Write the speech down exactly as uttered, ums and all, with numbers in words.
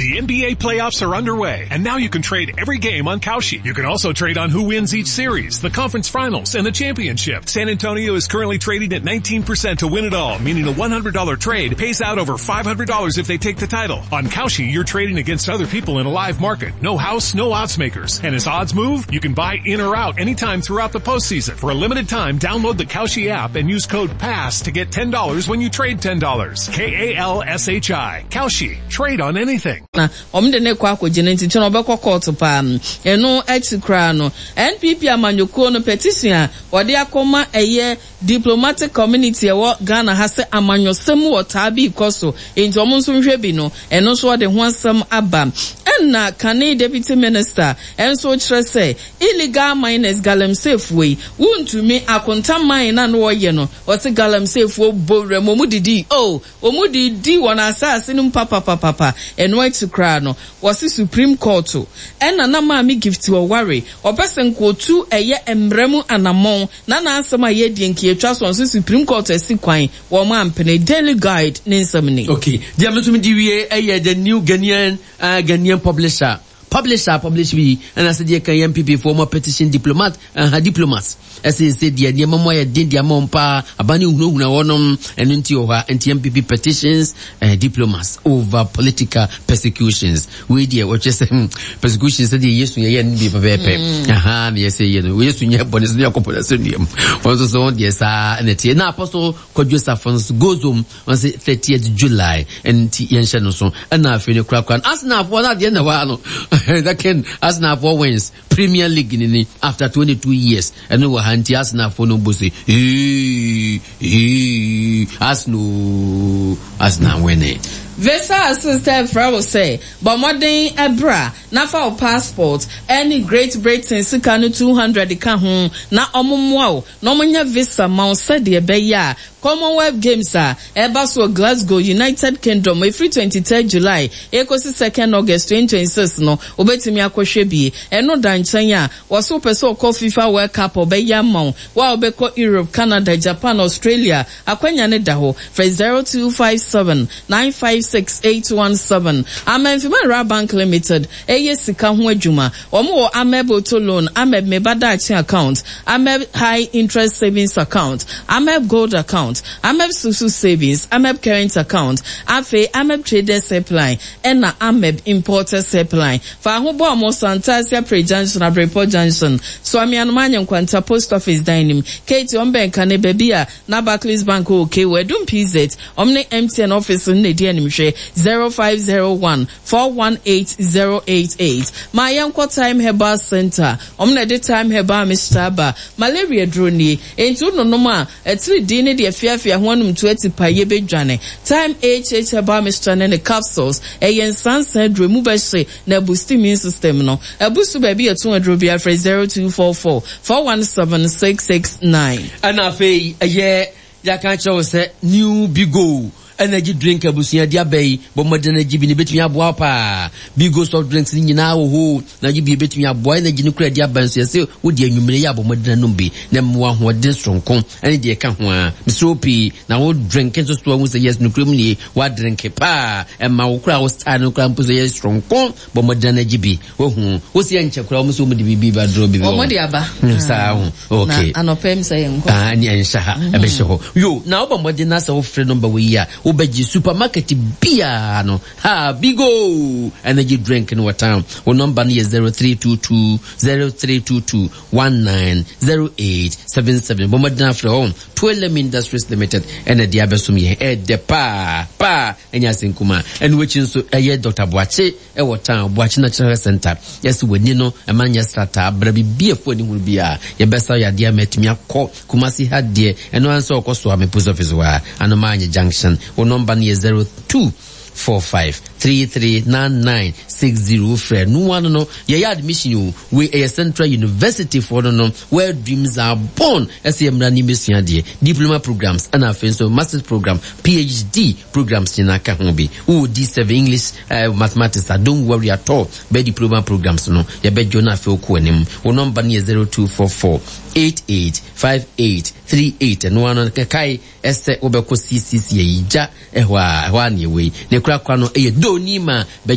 The N B A playoffs are underway, and now you can trade every game on Kalshi. You can also trade on who wins each series, the conference finals, and the championship. San Antonio is currently trading at nineteen percent to win it all, meaning a one hundred dollar trade pays out over five hundred dollars if they take the title. On Kalshi, you're trading against other people in a live market. No house, no odds makers. And as odds move, you can buy in or out anytime throughout the postseason. For a limited time, download the Kalshi app and use code PASS to get ten dollars when you trade ten dollars. K A L S H I. Kalshi. Trade on anything. Na wɔn de ne kɔ akɔgye ne nti kyɛn ɔbɛkɔ kɔɔto paa. Ɛno akyi koraa no, N P P amanyɔkuo no petition a wɔde akɔma ɛyɛ diplomatic community ɛwɔ Ghana ha sɛ amanyɔsɛm wɔ taa bi kɔ so, nti wɔn nso nhwɛ bi no, ɛno nso wɔde ho asɛm aba. Ɛna kane deputy minister ɛnso kyerɛ sɛ illegal miners, galamseyfoɔ yi, wuntumi akonta mine na no wɔyɛ no, wɔsi galamseyfoɔ bɔ wura mu, wɔn didi oh, wɔn didi wɔn asase no mu papapapapa. Ɛno akyi koraa no, wɔsi Supreme Court ɛna na Maame Gifty ɔware ɔpɛ sɛ nkootu ɛyɛ mmerɛ mu anammɔn na n'asɛm a yɛdie nkietwa so nso Supreme Court asi kwan wɔn ampene. Daily Guide ne nsɛm ni. Okay, deɛ me nso mede wie ɛyɛ the New Ghanaian uh, Ghanaian publisher publisher publish bi, ɛna sɛ deɛ kan yɛ N P P foɔ mo petition diplomat uh, diplomats ɛsɛ sɛ deɛ nneɛma mu ayɛ den deɛ ama wɔn paa, aba ne hunahuna wɔnom. Ɛno nti wɔ hɔ a nti N P P petitions uh, diplomats over political persecutions. Wei deɛ wɔkyerɛ sɛ hmm, persecution sɛ deɛ Yesu yɛyɛ no bi pɛpɛɛpɛ. Aha na yɛsɛ yɛ no, Yesu nyɛ bɔne so ne akɔpɔ no sɛ nnuam wɔn nso so deɛ saa ɛna tie. Na Apostle Kwadwo Safo nso goes home on sɛ thirtieth July, ɛnti yɛnhyɛ no so. Ɛna afei no korakora no, Arsenalfoɔ no adeɛ na hɔ a no second Arsenalfoɔ wins Premier League ni ni after twenty-two years. Ɛno wɔ ha nti Arsenalfoɔ no bɔ sɛ ee ee, Arsenal, Arsenal winning. Visa Assistant frɛ wo sɛ bɔ mmɔden ɛbra na fa wo passport ɛne Great Britain sika no two hundred ka ho na ɔmo mmoa wo na ɔmo nya visa ma wo sɛdeɛ ɛbɛyɛ a Commonwealth Games a ɛba so wɔ Glasgow, United Kingdom, efiri twenty-third July ekosi second August twenty twenty-six no, wobɛtumi akɔhwɛ bie. Ɛno da nkyɛn a, wɔso wopɛ sɛ ɔkɔ FIFA World Cup, ɔbɛyɛ ama wo. Wo a wobɛkɔ Europe, Canada, Japan, Australia, akwanya ne da hɔ. Frɛ zero two five seven nine five six eight one seven. Amenfi Rural Bank Limited ɛyɛ sika ho adwuma. Wɔn wɔ Ameb Auto Loan, Ameb Meba Daakye Account, Ameb High Interest Savings Account, Ameb Gold Account, Ameb Susu Savings, Ameb Current Account, afei Ameb Traders Helpline ɛna Ameb Importers Helpline. Fa ho bɔ ɔmo Santasia Pre Junction, Abrepɔ Junction, Suamianum Anya Nkwanta Post Office dan nim, Kate ɔmo bɛn kane baabi a na Barclays Bank wɔ K wɔ Edum P Z, ɔmo ne M T N office no na edi anim. Hwɛ zero five zero one four one eight zero eight eight. Maa yɛn kɔ Time Herbal Center. Ɔmo na ɛde Time Herbal Mixture aba. Malaria duro nie, nti wononom a ɛtiri din ne deɛ fiafia ho anum to ati pa yɛ bɛdwane. Time H H Herbal Mixture ne ne capsules ɛyɛ nsansan aduro mu bɛhye na boost immune system no. Ɛbusu baabi yɛto aduro bi afrɛ zero two four four four one seven six six nine. Ɛna afei ɛyɛ yɛaka kyerɛ wo sɛ New Bigo Energy Drink abusua de aba yi, bɔ mmɔden agye bi ne bɛtumi aboa paa. Bigo soft drinks no nyinaa wɔ hɔ na agye bi bɛtumi aboa. Energy no kura de aba nso, yɛsɛ wode anwummere yɛ abɔ mmɔden anom bi na mmoa ahoɔden soronko ɛne deɛ ɛka ho a mesrɛ pii na wo drink nso so ahu sɛ yes, nokorɛ mu nie, woadrink paa, ɛma wo kora wo style no kora mpo sɛ yɛ soronko. Bɔ mmɔden agye bi. Wohu wo sɛ yɛnkyɛ koraa wɔn nso wɔn de biribi ba duro bi. Wɔn de aba. Saa ho, okay. Na anɔpɛ mi sɛ yɛn nkɔ. Aa, ni ɛnhyɛ ha, ɛbɛhyɛ hɔ yo. Na wobɔ mmɔden na sɛ wofrɛ number wɔ yi a, wobɛgye supermarket biara no ha Bigo Energy Drink no wɔ town. Wo number no yɛ zero three two two zero three two two one nine zero eight seven seven. Bɔ mmɔden afrɛ hɔ. Twelem Industries Limited ɛna de abɛsom yɛn, ɛɛdɛ paa paa, ɛnyɛ asɛnkuma. Ɛno akyi nso ɛyɛ Doctor Boakye ɛwɔ town, Boakye Natural Health Center. Yɛsɛ w'ani no ɛma nyɛ strata abra biribi afu ani hunu bi a yɛbɛsa yadeɛ ama atumi akɔ. Kumasi ha deɛ, ɛno ara nso ɔkɔ so a me post office hɔ a Anomaanye Junction. Wo number no yɛ zero two four five three three nine nine six zero. Frɛ no ano no yɛyɛ admission o. Wei ɛyɛ Central University foɔ no no where dreams are born. Ɛsɛ yɛ mmara ne mbɛsua deɛ diploma programs ɛna afei nso masters program, P H D programs nyinaa ka ho bi. Wowɔ D seven English, uh, mathematics a, don't worry at all, bɛɛ diploma programs no yɛbɛdwo no. Afei wokɔ anim, wo number no yɛ zero two four four eight eight five eight three eight. Ɛno ano kɛkae ɛsɛ wobɛkɔ C C C ayigya ɛhɔ a ɛhɔ a neɛ wei ne korakora no ɛyɛ Donima bɛgye.